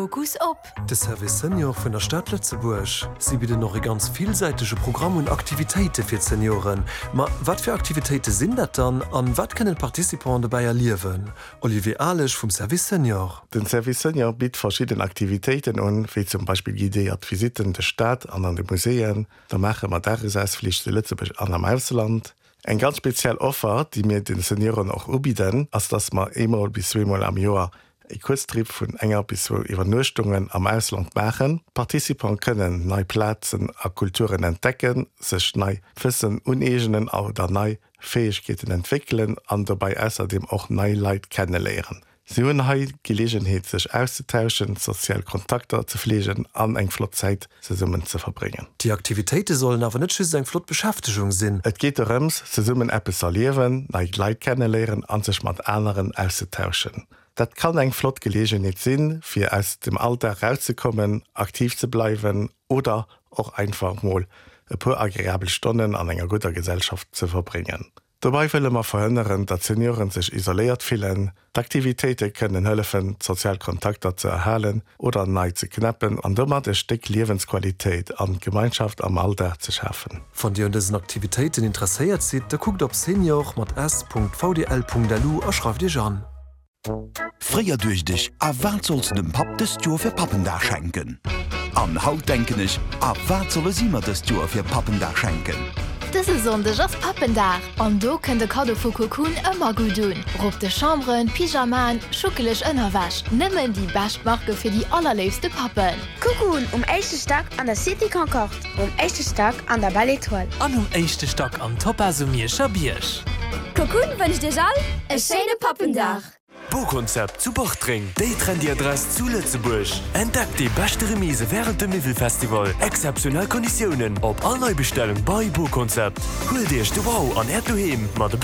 Fokus op. De Service Senior vun der Stad Lëtzebuerg. Si bidden och e ganz villsäitege Programm un Aktivitéite fir d'Senioren. Ma wat fir Aktivitéite sinn dat dann an wat kënnen d'Participanten dobäi erliewen? Olivier Alesch vum Service Senior. Den Service Senior bitt verschidden Aktivitéiten un, wéi zum Beispill guidéiert Visitten duerch d'Stad an an de Muséeën. Da maache mer Dagesausflich zu Lëtzebuerg an am Ausland. Eng ganz speziell Offer, déi mir de Senioren och ubidden, ass, dass mer eemol bis zweemol am Joer e Kuerztrip vun enger bis zwou Iwwernuechtungen am Ausland maachen. D'Participante kënnen nei Plazen a Kulturen entdecken, sech nei Wëssen uneegenen oder nei Fäegkeeten entwéckelen an dobäi ausserdeem och nei Leit kenneléieren. Si hunn hei d'Geleegenheet sech auszetauschen, sozial Kontakter ze fleegen an eng flott Zäit zesummen ze verbréngen. Déi Aktivitéite sollen awer net just eng flott Beschäftegung sinn. Et geet dorëms, zesummen eppes z'erliewen, nei Leit kenneléieren an sech mat aneren auszetauschen. Dat kann eng flott Geleegenheet sinn, fir aus dem Alldag rauszekommen, aktiv ze bleiwen oder och einfach mol e puer agreabel Stonnen an enger gudder Gesellschaft ze verbréngen. Dobei wëlle mer verhënneren, datt Senioren sech isoléiert fillen. D'Aktivitéite kënnen hëllefen, d'sozial Kontakter ze erhalen oder nei ze knäppen an domat e Stéck Liewensqualitéit an Gemeinschaft am Alldag ze schafen. Wann Dir un dësen Aktivitéiten interesséiert sidd, da kuckt op senior mat s.vdl.lu a schreift Iech an. Fréier duecht ech, A wat solls de dem Papp dëst Joer fir Pappendag schenken? An haut denken ech, A wat solle si mer dëst Joer fir Pappendag schenken? Dëse Sonndeg ass Pappendag an do kënnt e Kaddo vu Cocoon ëmmer gutt un. Rob de Chamberen, Pyjamaen, schuckeleg Ënnerwäsch, nëmmen déi bescht Marke fir déi allerléifste Pappen. Cocoon um éischte Stack an der Cité Concorde, um éischte Stack an der Belle Etoile. An um éischte Stack am Topaz um Mierscher Bierg. Cocoon wënscht iech all e schéine Pappendag! Bokonzept zu Bartreng, déi trendy Adress zu Lëtzebuerg. Entdeckt déi beschte Remise wärend dem Miwwelfestival. Exzeptionell Konditiounen op all Neibestellung bei Bokonzept. Huelt iech de Wow an äert Doheem mat e.